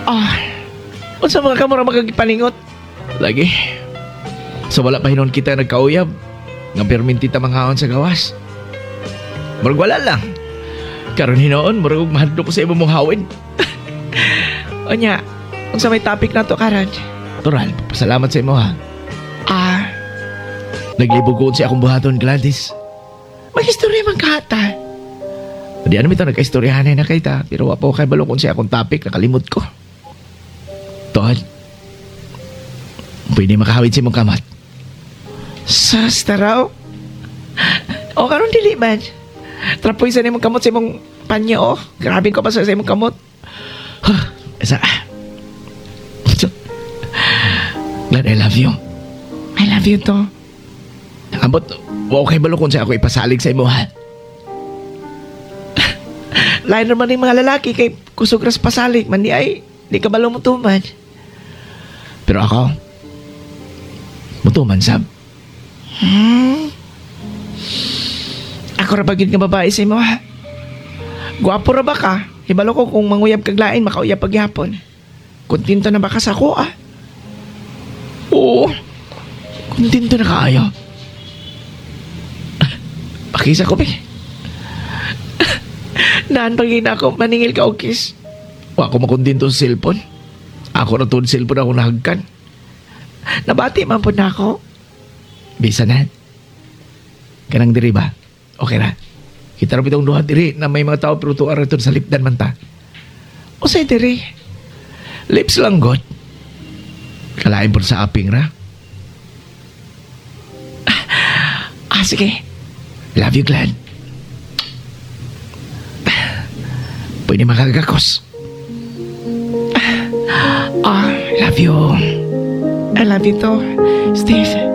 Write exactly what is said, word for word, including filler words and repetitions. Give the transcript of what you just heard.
Ah, unsa mga kamura magagipaningot? Lagi. So wala pa hinon kita nagkauyab. Nga perminti ta manghaon sa gawas. Murag wala lang. Karon hinoon, murag og mahadlok ko sa imong hawid. Unya, unsa may topic nato karon? Tural, pasalamat sa imo ha. Ah, naglibog ko sa akong buhaton, Gladys. Mag-istorya man ka ta. Di ano ito, nagka-istoryahan na kay ta. Pero wa pa ko kabalo kung sa akong topic, nakalimot ko. Tol, pwede makahawid sa imong kamot. Sus, taraw. O, karon dili man. Trapoy sa imong kamot sa imong panyo, oh. Grabe ko pa sa imong kamot. Huh, isa. Glad I love you. I love you to. Ambot, wa ko kabalo kung sa ako ipasalig sa imo, ha? Lain naman yung mga lalaki kay kusog ras pasalig man di ay di ka balo mutuman. Pero ako, mutuman sab. Hmm. Ako ra ba gyud nga babae sa imo ha? Gwapo ra ba ka? Hibalo ko kung manguyab kag lain, makauyab pagyapon. Kontento na ba ka sa ako ah? Oo. Kontento na kaayo. Pakisa ko be. Naan pag ako, maningil ka og kiss. Wa ko makontento sa cellphone. Ako na tuod cellphone ako nahagkan. Nabati man po na ako. Bisa na. Kanang diri ba? Okay ra. Kita ra bitong duha diri na may mga tao pero tuwa ra sa lipdan man ta. Usay diri. Lips lang god. Kalain po sa aping ra. Ah, sige. Love you, Glad. Pwede makagakos. Ah, love you. I love you too, Steve.